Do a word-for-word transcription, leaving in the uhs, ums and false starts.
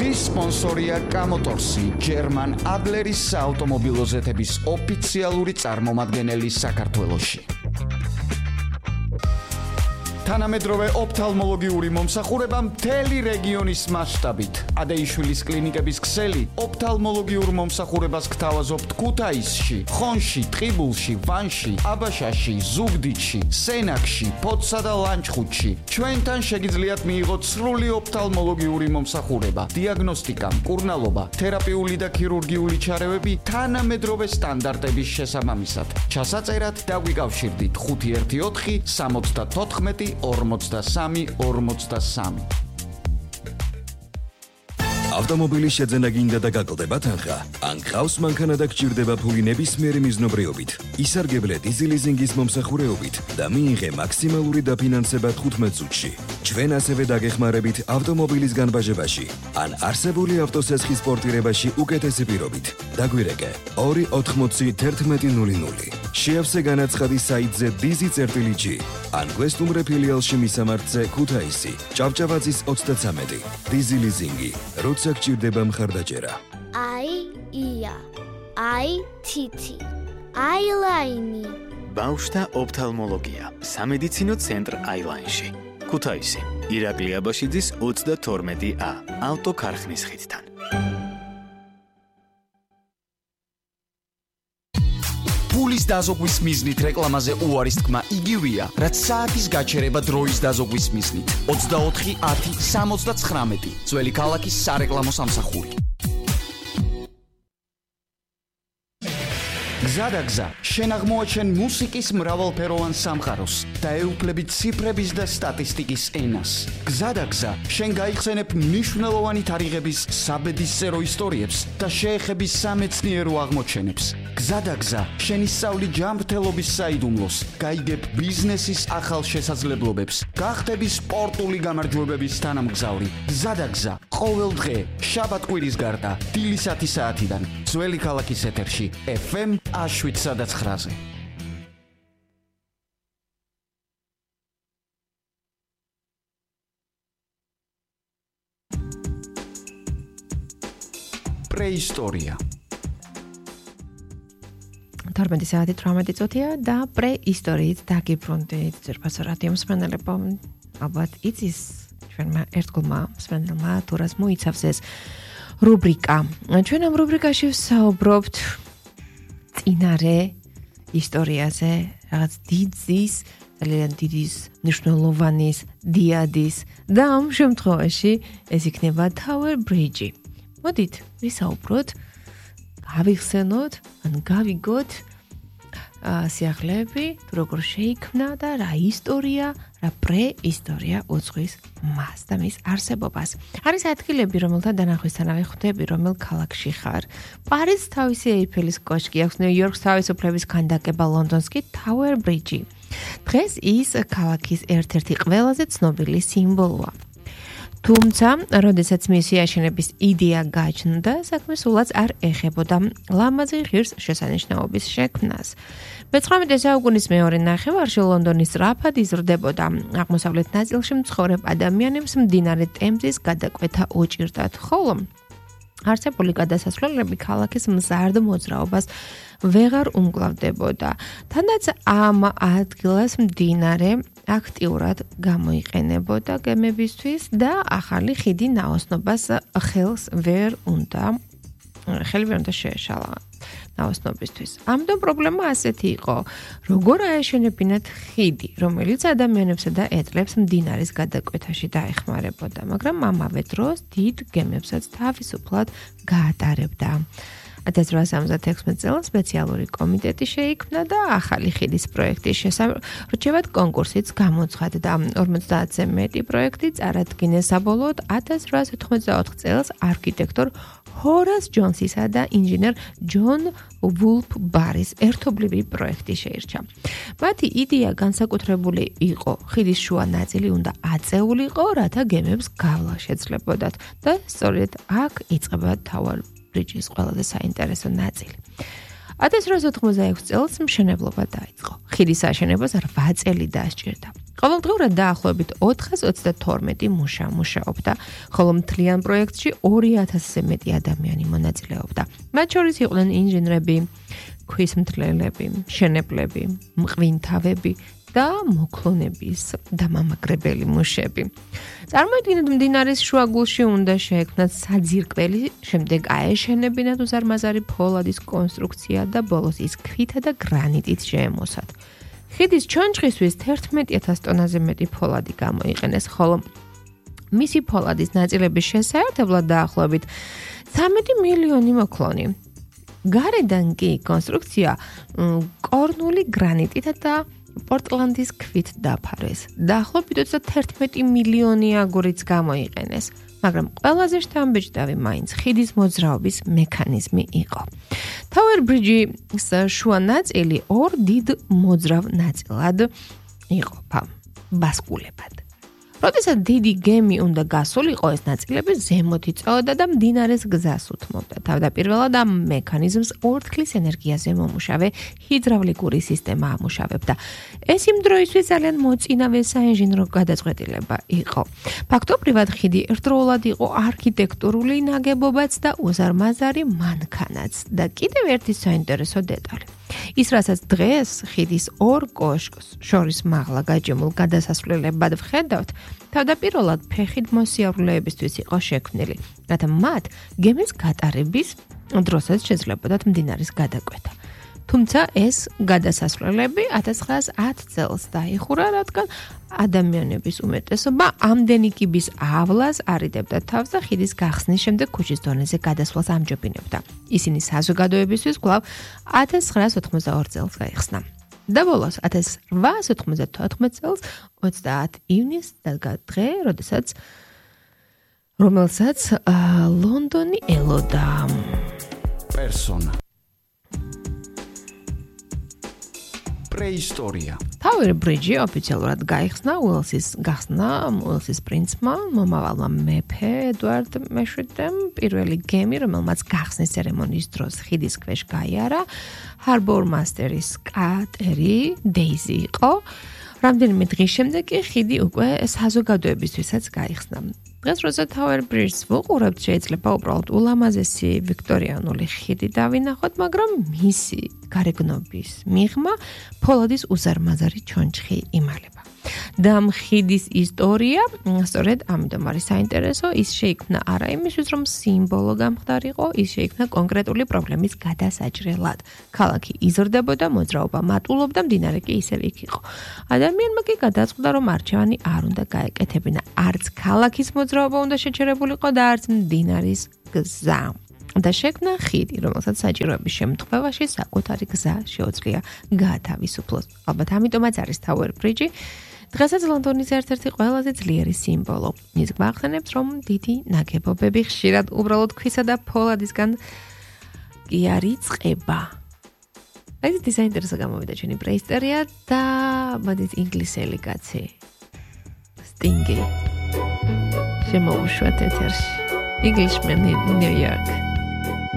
დღის სპონსორია კამოტორსი, ჯერმან ადლერის საავტომობილო ზეთების ოფიციალური წარმომადგენელი საქართველოში. თანამედროვე ოფთალმოლოგიური მომსახურება მთელი რეგიონის მასშტაბით. ადეიშვილის კლინიკების ქსელი ოფთალმოლოგიურ მომსახურებას გთავაზობთ ქუთაისში, ხონში, ტყიბულში, ვანში, აბაშაში, ზუგდიდში, სენაკში, ფოთსა და ლანჩხუთში. ჩვენთან შეგიძლიათ მიიღოთ სრული ოფთალმოლოგიური მომსახურება, დიაგნოსტიკა, მკურნალობა, თერაპიული და ქირურგიული ჩარევები თანამედროვე სტანდარტების შესაბამისად. ჩასაწერად დაგვიკავშირდით ხუთი ერთი ოთხი სამოცდათოთხმეტი ორმოცდასამი ორმოცდასამი. ავტომობილის შეძენა გინდა და გაკლდება თანხა? ან გყავს მანქანა და გჭირდება ფული ნებისმიერი მიზნობრიობით? ისარგებლე დიზელიზინგის მომსახურეობით და მიიღე მაქსიმალური დაფინანსება თხუთმეტ წუთში. ჩვენ ასევე დაგეხმარებით ავტომობილის განბაჟებაში ან არსებული ავტოსესხის პორტირებაში უკეთესი პირობით. დაგვირეკე ორი ოთხმოცი თერთმეტი ნული ნული. შეავსე განაცხადი საიტზე dizi.gi ან გვესტუმრე ფილიალში მისამართზე ქუთაისი, ჭავჭავაძის ოცდაცამეტი. დიზელიზინგი, როცა გჭირდება მხარდაჭერა. აი ია, აი თითი, აილაინი. ბავშვთა ოფთალმოლოგია, სამედიცინო ცენტრ აილაინში. ქუთაისი, ირაკლი აბაშიძის ოცდათორმეტი ა, ავტოქარხნის ხიდთან. ფულის დაზოგვის მიზნით რეკლამაზე უარის თქმა იგივეა, რაც საათის გაჩერება დროის დაზოგვის მიზნით. ოცდაოთხი ათი სამოცდაცხრამეტი. ძველი ქალაქის სარეკლამო სამსახური. გზადაგზა, შენ აღმოაჩენ მუსიკის მრავალფეროვან სამყაროს და ეუფლები ციფრების და სტატისტიკის ენას. გზადაგზა, შენ გაიხსენებ მნიშვნელოვანი თარიღების საბედისწერო ისტორიებს და შეეხები სამეცნიერო აღმოჩენებს. გზადაგზა, შენ ისწავლი ჯანმრთელობის საიდუმლოს, გაიგებ ბიზნესის ახალ შესაძლებლობებს, გახდები სპორტული გამარჯვებების თანამგზავრი. გზადაგზა, ყოველ დღე, შაბათ-კვირის გარდა, დილის ათი საათიდან, ძველი ქალაქის ეთერში, ეფ ემ შვიდსა და ცხრაზე. პრეისტორია. თორმეტი საათი თვრამეტი წუთია და პრეისტორიით დაგიბრუნდით. ძვირფასო რადიო მსმენელებო, ალბათ იცის ჩვენმა ერთგულმა მსმენელმა თუ რას მოიცავს ეს რუბრიკა. ჩვენ ამ რუბრიკაში ვსაუბრობთ წინარე ისტორიაზე, რაღაც დიდის, ძალიან დიდის, მნიშვნელოვანის, დიადის და ამ შემთხვევაში ეს იქნება Tower Bridge. მოდით, ვისაუბროთ, გავიხსენოთ, ან გავიგოთ სიახლეები, თუ როგორ შეიქმნა და რა ისტორია, რა პრეისტორია უძღვის მას და მის არსებობას. არის ადგილები, რომელთა დანახვისთანავე ხვდები, რომელ ქალაქში ხარ. პარიზს თავისი ეიფელის კოშკი აქვს, ნიუ-იორკს თავისუფლების ქანდაკება, ლონდონს კი Tower Bridge. დღეს ის ქალაქის ერთ-ერთი ყველაზე ცნობილი სიმბოლოა. თუმცა, როდესაც მისი აშენების იდეა გაჩნდა, საქმე სულაც არ ეხებოდა ლამაზი ღირს შესანიშნაობის შექმნას. მეცხრამეტე საუკუნის მეორე ნახევარში ლონდონის სწრაფად იზრდებოდა. აღმოსავლეთ ნაწილში მცხოვრებ ადამიანებს მდინარე ტემზის გადაკვეთა უჭირდათ, ხოლო არსებული გადასასვლელები ქალაქის მზარდ მოძრაობას ვეღარ უმკლავდებოდა. თანაც ამ ადგილას მდინარე აქტიურად გამოიყენებოდა გემებისთვის და ახალი ხიდი ნაოსნობას ხელს ვერ უნდა ხელი ვერ უნდა შეეშალა ნაოსნობისთვის. ამიტომ პრობლემა ასეთი იყო, როგორ აეშენებინათ ხიდი, რომელიც ადამიანებსა და ეტლებს მდინარის გადაკვეთაში დაეხმარებოდა, მაგრამ ამავე დროს დიდ გემებსაც თავისუფლად გაატარებდა. ათას რვაასი ორმოცდაექვსმეტ წელს სპეციალური კომიტეტი შეიქმნა და ახალი ხიდის პროექტის შესარჩევად კონკურსიც გამოცხადდა. ორმოცდაათზე მეტი პროექტი წარადგინეს, საბოლოოდ ათას რვაასი ოთხმოცდაოთხ წელს არქიტექტორ ჰორას ჯონსისა და ინჟინერ ჯონ ვულფ ბარის ერთობლივი პროექტი შეირჩა. მათი იდეა განსაკუთრებული იყო, ხიდის შუა ნაწილი უნდა აწეულიყო, რათა გემებს გავლა შეძლებოდათ და სწორედ აქ იწყება Tower Bridge-ის ყველაზე საინტერესო ნაწილი. ათას რვაასი ოთხმოცდაექვსი წელს მშენებლობა დაიწყო. ხიდის აშენებას რვა წელი დასჭირდა. ყოველდღიურად დაახლოებით ოთხას ოცდათორმეტი მუშა მუშაობდა, ხოლო მთლიან პროექტში ორი ათასზე მეტი ადამიანი მონაწილეობდა. მათ შორის იყვნენ ინჟინრები, ქვისმთლელები, მშენებლები, მღვინთავები და მოქლონების დამამაგრებელი მუშები. წარმოიდგინეთ, მდინარის შუაგულში უნდა შეექმნათ საძირკველი, შემდეგ აეშენებინათ უზარმაზარი ფოლადის კონსტრუქცია და ბოლოს ის ქვითა და გრანიტით შეემოსათ. ხიდის ჩონჩხისთვის თერთმეტი ათას ტონაზე მეტი ფოლადი გამოიყენეს, ხოლო მისი ფოლადის ნაწილების შესაერთებლად დაახლოებით ცხრამეტი მილიონი მოქლონი. გარედან კი კონსტრუქცია კორნული გრანიტითა და პორტლანდის ქვით დაფარეს. დაახლოებით ოცდათერთმეტი მილიონი აგურიც გამოიყენეს, მაგრამ ყველაზე შთამბეჭდავი მაინც ხიდის მოძრაობის მექანიზმი იყო. Tower Bridge-ის შუა ნაწილი ორ დიდ მოძრავ ნაწილად იყოფა, ბასკულებად. როდესაც დიდი გემი უნდა გასულიყო, ეს ნაწილები ზემოთ იწოდა და მდინარეს გზას უთმობდა. თავდაპირველად ამ მექანიზმს ორთქლის ენერგიაზე მომუშავე ჰიდრავლიკური სისტემა ამუშავებდა. ეს იმ დროისთვის ძალიან მოწინავე საინჟინრო გადაწყვეტილება იყო. ფაქტობრივად ხიდი ერთდროულად იყო არქიტექტურული ნაგებობაც და უზარმაზარი მანქანაც და კიდევ ერთი საინტერესო დეტალი. ის, რასაც დღეს ხიდის ორ კოშკს შორის მაღლა გაჯემულ გადასასვლელებად ვხედავთ, თავდაპირველად ფეხით მოსიარულეებისთვის იყო შექმნილი, რათა მათ გემის გატარების დროსაც შეძლებოდათ მდინარის გადაკვეთა. თუმცა ეს გადასასვლელები ათას ცხრაას ათი წელს დაიხურა, რადგან ადამიანების უმეტესობა ამდენი კიბის ავლას არიდებდა თავს და ხიდის გახსნის შემდეგ ქუჩის დონეზე გადასვლას ამჯობინებდა. ისინი საზოგადოებისთვის კვლავ ათას ცხრაას ოთხმოცდაორ წელს გაიხსნა. და ბოლოს ათას რვაას ოთხმოცდათოთხმეტ წელს ოცდაათი ივნისს დადგა დღე, როდესაც რომელსაც ლონდონი ელოდა. პერსონა. პრეისტორია. Tower Bridge ოფიციალურად გაიხსნა უელსის გახსნა უელსის პრინცმა, მომავალმა მეფე ედვარდ მეშვიდემ, პირველი გემი, რომელმაც გახსნის ცერემონიის დროს ხიდის ქვეშ გაიარა, ჰარბორ მასტერის კატერი დეიზი იყო. რამდენიმე დღის შემდეგ კი ხიდი უკვე საზოგადოებისთვისაც გაიხსნა. დღეს როცა Tower Bridge-ს ვუყურებთ, შეიძლება უბრალოდ ულამაზესი ვიქტორიანული ხიდი დავინახოთ, მაგრამ მისი გარეგნობის მიღმა ფოლადის უზარმაზარი ჩონჩხი იმალება. და ამ ხიდის ისტორია, სწორედ ამიტომ არის საინტერესო, ის შეიქმნა არა იმისთვის, რომ სიმბოლო გამხდარიყო, ის შეიქმნა კონკრეტული პრობლემის გადასაჭრელად. ქალაქი იზრდებოდა, მოძრაობა მატულობდა, მდინარე კი ისევ იქ იყო. ადამიანმა კი გადაწყდა, რომ არჩევანი არ უნდა გაეკეთებინა, არც ქალაქის მოძრაობა უნდა შეჩერებულიყო და არც მდინარის გზა. და შექმნა ხიდი, რომელსაც საჭიროების შემთხვევაში საკუთარი გზა შეუძლია გაათავისუფლოს. ალბათ ამიტომაც არის Tower Bridge დღესაც ლონდონის ერთ-ერთი ყველაზე ძლიერი სიმბოლო. ის გვახსენებს, რომ დიდი ნაგებობები ხშირად უბრალოდ ქვისა და ფოლადისგან კი არ იწყება. აი ეს საინტერესო გამოვიდა ჩვენი პრეისტორია და მოდით ინგლისელი კაცი სტინგი შემოუშვათ ეთერში. Englishman in New York.